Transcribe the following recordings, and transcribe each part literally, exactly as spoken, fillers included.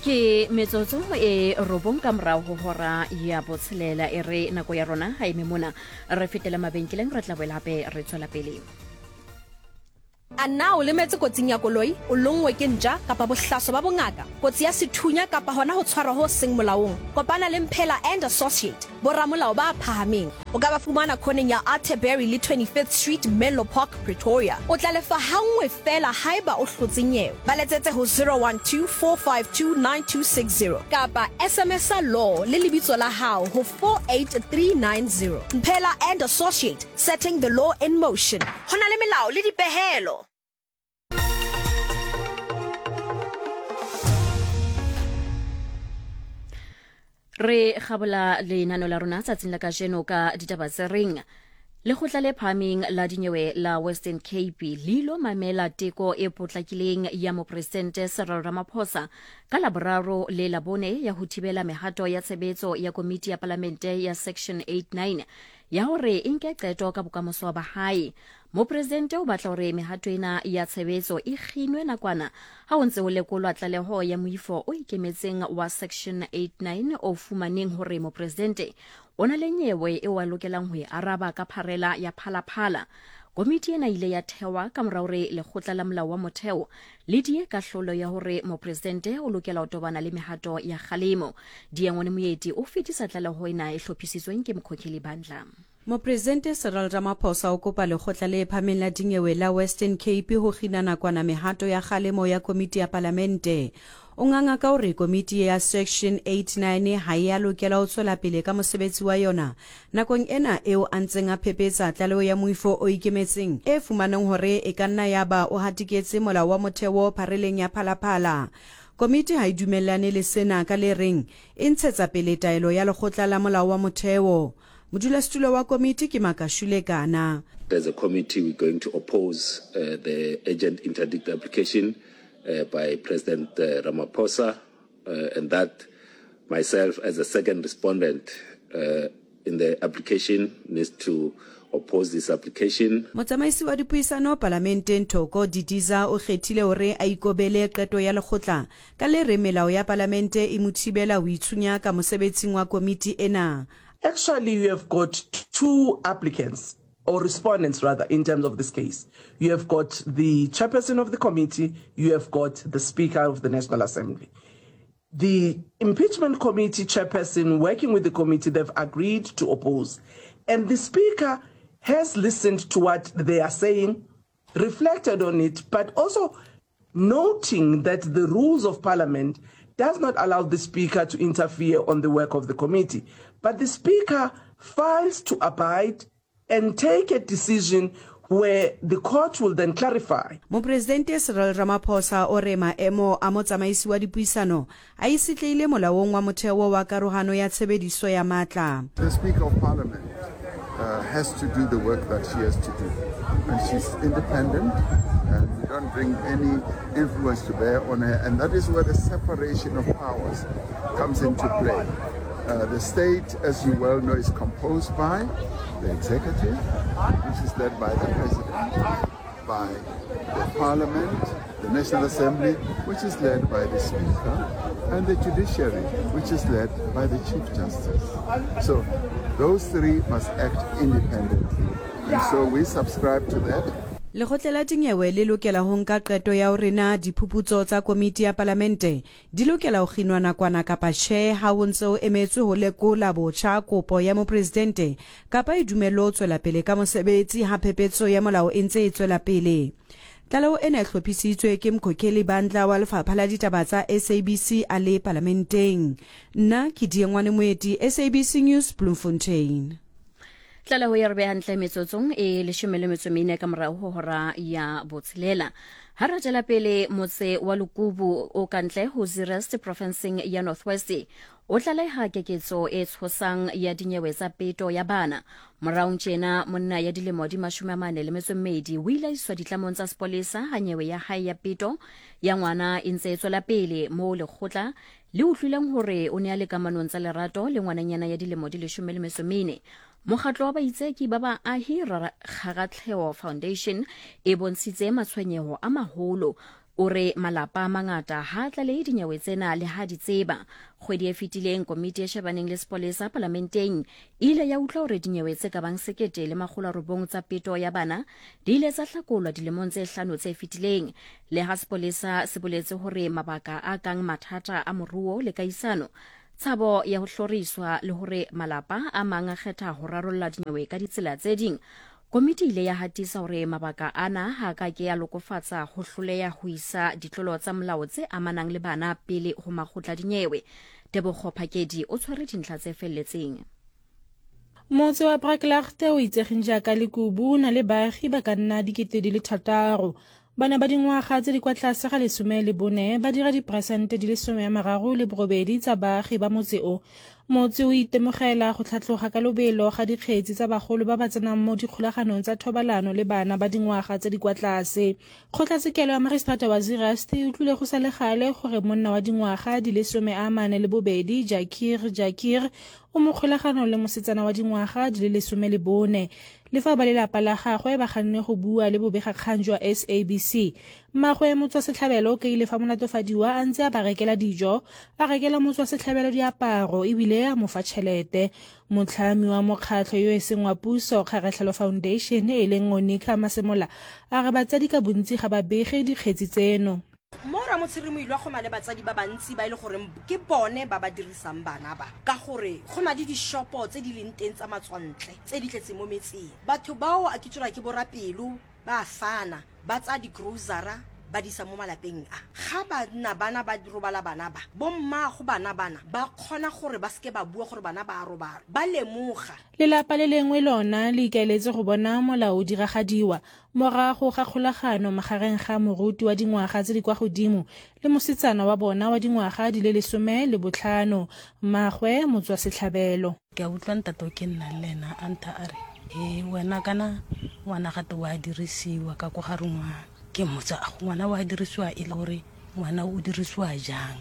Ke metsotso e robong ka morao ho hora ya botshelela. E re nako ya rona ha eme mona, re fetele mabenkeleng, re tla boela hape re tswela pele. A na o lemetse kotsing ya koloi, o lonngwe ke ntja kapa bohlaso ba bongaka, kotsi ya sethunya kapa hona ho tshwarwa ho seng molaong? Kopana le Mphela and Associate, boramolao ba phahameng. O ka ba fumana khoneng ya Atterbury le twenty-fifth Street, Menlo Park, Pretoria. O tla lefa hanngwe feela haeba o hlotse nyewe. Ba letsetse ho zero one two four five two nine two six zero kapa S M S law le lebitso la hao ho four eight three nine zero. Mphela and Associate, setting the law in motion. Ho na le melao le dipehelo. Re kgabola lenano la rona tsatsing la kajeno ka ditaba tse reng lekgotla le phahameng la dinyewe la Western Cape le ilo mamela teko e potlakileng ya mopresidente Cyril Ramaphosa ka Laboraro le Labone ya ho thibela mehato ya tshebetso ya komiti ya palamente ya Section eighty-nine ya hore e nke qeto ka bokamoso ba hae. Mopresidente o batla hore mehato ena ya tshebetso e kginwe nakwana ha ho ntse ho lekolwa tlaleho ya moifo o ikemetseng wa Section eighty-nine o fumaneng hore mopresidente o na le nyewe eo a lokelang ho e araba ka pharela ya Phalaphala. Komiti ena ile ya thewa ka mora hore lekgotla la molao wa motheo le die kahlolo ya hore mopresidente o lokela ho tobana le mehato ya kgalemo. Diengwane Moeti o fetisa tlaleho ena e hlophisitsweng ke Mokhokheli Bandla. Mopresidente Cyril Ramaphosa o kopa lekgotla le phahameng la dinyewe la Western Cape ho kgina nakwana mehato ya kgalemo ya komiti ya palamente. O nganga ka hore komiti ya Section eighty-nine ha e a lokela ho tswela pele ka mosebetsi wa yona nakong ena eo a ntseng a phepetsa tlaleho ya moifo o ikemetseng e fumaneng hore e ka nna ya ba o hatiketse molao wa motheo phareleng ya Phalaphala. Komiti ha e dumellane le sena ka le reng e ntshetsa pele taelo ya lekgotla la molao wa motheo. Modulasetulo wa komiti ke Makashule Kana. As a committee, we're going to oppose uh, the urgent interdict application uh, by President uh, Ramaphosa, uh, and that myself as a second respondent uh, in the application needs to oppose this application. Motsamaisi wa dipuisano palamenteng Thoko Didiza o kgethile hore a ikobele qeto ya lekgotla ka le re melao ya palamente e mo thibela ho itshunya ka mosebetsing wa komiti ena. Actually, you have got two applicants, or respondents rather, in terms of this case. You have got the chairperson of the committee, you have got the Speaker of the National Assembly. The impeachment committee chairperson working with the committee, they've agreed to oppose. And the Speaker has listened to what they are saying, reflected on it, but also noting that the rules of parliament does not allow the Speaker to interfere on the work of the committee. But the Speaker files to abide and take a decision where the court will then clarify. Mopresidente Cyril Ramaphosa o re maemo a motsamaisi wa dipuisano a itshetlehile molaong wa motheo wa karohano ya tshebediso ya matla. The Speaker of Parliament uh, has to do the work that she has to do, and she's independent, and we don't bring any influence to bear on her, and that is where the separation of powers comes into play. Uh, the state, as you well know, is composed by the executive, which is led by the president, by the parliament, the National Assembly, which is led by the speaker, and the judiciary, which is led by the Chief Justice. So those three must act independently. And so we subscribe to that. Lekgotla la dinyewe le lokela ho nka qeto ya hore na diphuputso tsa komiti ya palamente di lokela ho kginwa nakwana kapa tjhe ha ho ntse ho emetswe ho lekola botjha kopo ya mopresidente kapa e dumellwe ho tswela pele ka mosebetsi ha phephetso ya molao e ntse e tswela pele. Tlaleho ena e hlophisitswe ke Mkhokheli Bandla wa Lefapha la Ditaba tsa S A B C a le palamenteng. Nna ke Diengwane Moeti, S A B C News, Bloemfontein. Tlaleho ya re beha hantle metsotsong e leshome le metso mene ka morao ho hora ya botshelela. Ha re tswela pele, motse wa Lukubu o kantle ho Zeerust provinceng ya North West o tlaleha keketso e tshosang ya dinyewe tsa peto ya bana. Moraong tjena monna ya dilemo di mashome a mane le metso e mmedi o ile a iswa ditlamong tsa sepolesa ha nyewe ya hae ya peto ya ngwana e ntse e tswela pele moo lekgotla le utlwileng hore o ne a le kamanong tsa lerato le ngwananyana ya dilemo di leshome le metso e mene. Mokgatlo wa baitseki ba baahi Kgaratlheo Foundation e bontshitse matshwenyeho a maholo. O re malapa a mangata ha a tlalehe dinyewe tsena le ha di tseba. Kgwedi e fetileng komiti e shebaneng le sepolesa palamenteng e ile ya utlwa hore dinyewe tse ka bang sekete le makgolo a robong tsa peto ya bana di ile tsa hlakolwa dilemong tse hlano tse fetileng. Le ha sepolesa se boletse hore mabaka a kang mathata a moruo le kaisano, tshabo ya ho hloriswa le hore malapa a mang a kgetha ho rarolla dinyewe ka ditsela tse ding, komiti ile ya hatisa hore mabaka ana ha ka ke ya lokofatsa ho hloleha ho isa ditlolo tsa molao tse amanang le bana pele ho makgotla dinyewe. Tebogo Phakedi o tshwere dintlha tse felletseng. Motse wa Braklaagte o itsegeng jaaka Lekubu o na le baagi ba ka nna dikete di le thataro. Bana ba dingwaga tse di kwa tlase ga lesome le bone ba dira diperesente di le some a mararo le borobedi tsa baagi ba motse o. Motse o itemogela go tlhatloga ka lobelo ga dikgetsi tsa bagolo ba ba tsenang mo dikgolaganong tsa thobalano le bana ba dingwaga tse di kwa tlase. Kgotlatshekelo ya Magistrata wa Zeerust e utlwile go sa le gale gore monna wa dingwaga di le some a mane le bobedi Jakir Jakir o mo kgolaganong le mosetsana wa dingwaga di le lesome le bone. Le fa ba lelapa la gagwe ba ganne go bua le bobegakgang jwa S A B C, mmagwe motswasetlhabelo o kaile fa molatofadiwa a ntse a ba rekela dijo, a rekela motswasetlhabelo diaparo ebile a mo fa tšhelete. Motlhami wa mokgatlho yo e seng wa puso Kgaratlhelo Foundation e leng Onika Masemola a re batsadi ka bontsi ga ba bege dikgetsi tseno. Mo Ramotshere Moilwa go na le batsadi ba bantsi ba e le gore ke bone ba ba dirisang bana ba, ka gore go na le dishopo tse di leng teng tsa matswantle tse di tletseng mo metseng. Batho bao a ke tsora ke borapelo ba fana ba tsa di-grocery ba di isa mo malapeng a. Ga banna bana ba robala bana ba, bommago bana bana ba kgona gore ba seke ba bua gore bana ba a robala, ba lemoga. Lelapa le lengwe lona le ikaeletse go bona molao o diragadiwa morago ga kgolagano magareng ga moruti wa dingwaga tse di kwa godimo le mosetsana wa bona wa dingwaga di le lesome le botlhano, mmagwe motswasetlhabelo. Ke a utlwa ntate o ke nnang le ena a ntha a re, e wena kana ngwana gate wa dirisiwa ka ko gare ngwana. Ke mmotsa, ngwana wa dirisiwa e le gore ngwana o dirisiwa jang?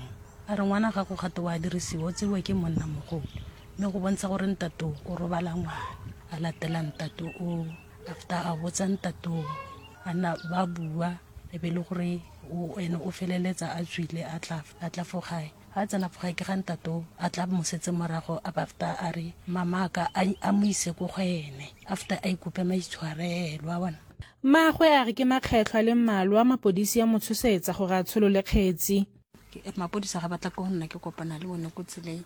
A re ngwana gago gate wa dirisiwa, o tsewa ke monna mogolo. Mme go bontsha gore ntate o robala ngwana, a latela ntate o, after a botsa ntate o, a nna ba bua, e be le gore o ene o feleletsa a tswile a tla, a tla fo gae. Ha tsena fo gae ke ga ntate o, a tla mosetse morago, a after a re mama ka a mo ise ko go ene, after a ikope maitshwarelo a bona. Mmagwe a re ke makgetlho a le mmalwa mapodisi a mo tshosetsa gore a tsholole kgetsi. Mapodisa ga batla ko go nna ke kopana le bone ko tseleng,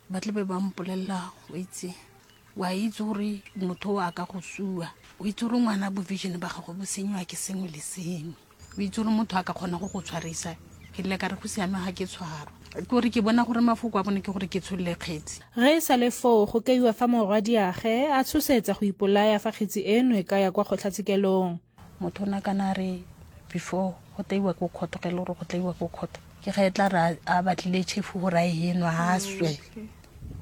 ba tle be ba mpolelela, o itse, wa itse gore motho o a ka go sua, o itse gore ngwana bo vision ba gago bo senyiwa ke sengwe le sengwe, o itse gore motho a ka kgona go go tshwarisa. Ke ile ka re go siame ga ke tshwarwa, ke gore ke bona gore mafoko a bone ke gore ke tsholole kgetsi. Ge e sa le foo go kaiwa fa morwadiagwe a tshosetsa go ipolaya fa kgetsi eno e ka ya kwa kgotlatshekelong. Motho o na kana re before go teiwa ko kgotho, ge e le gore go teiwa ko kgotho, ke ge e tla re a batlile chefu gore a e enwa a swe,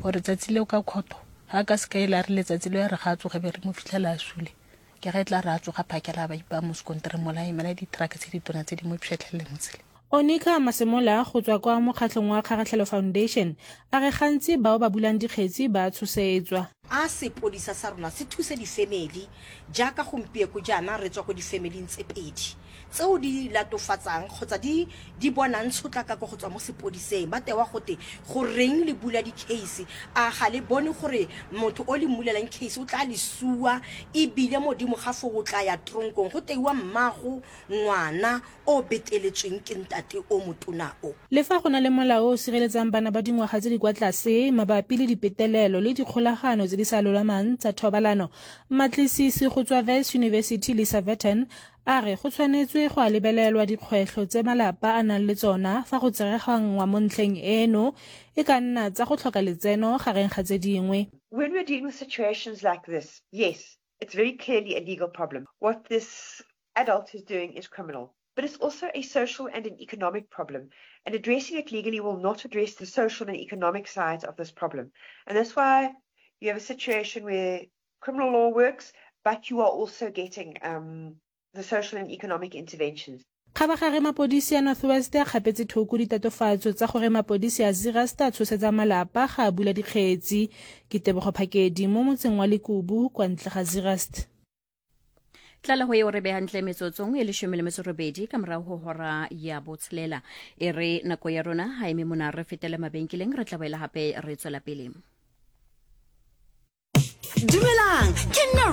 gore tsatsi leo ka kgotho ga ka se ka ile a re letsatsi leo ya re ga a tsoge be re mo fitlhela a sule, ke ge e tla re a tsoga phakela ba ipaya mo sekontereng mola a emela di-truck tse ditona tse di mo pšhetlhelele mo tseleng. Onika Masemola go tswa kwa mokgatlhong wa Kgaratlhelo Foundation a re gantsi bao ba bulang dikgetsi ba tshosetswa. A sepodisa sa rona se thuse di-family jaaka gompieko jaana re tswa ko di-familing tse pedi tseo di latofatsang kgotsa di di bonang tshotlakako go tswa mo sepodiseng, ba tewa gote goreng le bula di-case, a ga le bone gore motho o le mmulelang case o tla le sua ebile modimo ga fo o tla ya tronkong, go teiwa mmago ngwana o beteletsweng ke ntate o motona o. Le fa go na le molao o sireletsang bana ba dingwaga tse di kwa tlase mabapi le dipetelelo le dikgolagano tse di sa lolamang tsa thobalano, mmatlisisi go tswa Wits University Lisa Vetten a re go tshwanetswe go a lebelelwa dikgwetlho tse malapa a nang le tsona fa go tsereganngwa mo ntlheng eno, e ka nna tsa go tlhoka letseno gareng ga tse dingwe. When we're dealing with situations like this, yes, it's very clearly a legal problem. What this adult is doing is criminal. But it's also a social and an economic problem. And addressing it legally will not address the social and economic sides of this problem. And that's why you have a situation where criminal law works, but you are also getting um, the social and economic interventions. Kgabagare mapodisi a North West a kgapetse thoko ditatofatso tsa gore mapodisi a Zeerust a tshosetsa malapa ga a bula dikgetsi. Ke Tebogo Phakedi mo motseng wa Lekubu kwa ntle ga Zeerust. Tlaleho eo re behantle metsotsong e leshome le metso robedi ka morao ho hora ya botshelela. E re nako ya rona ha eme mona, re fetele mabenkeleng, re tla boela hape re tswela pele. Dumelang, ke nna.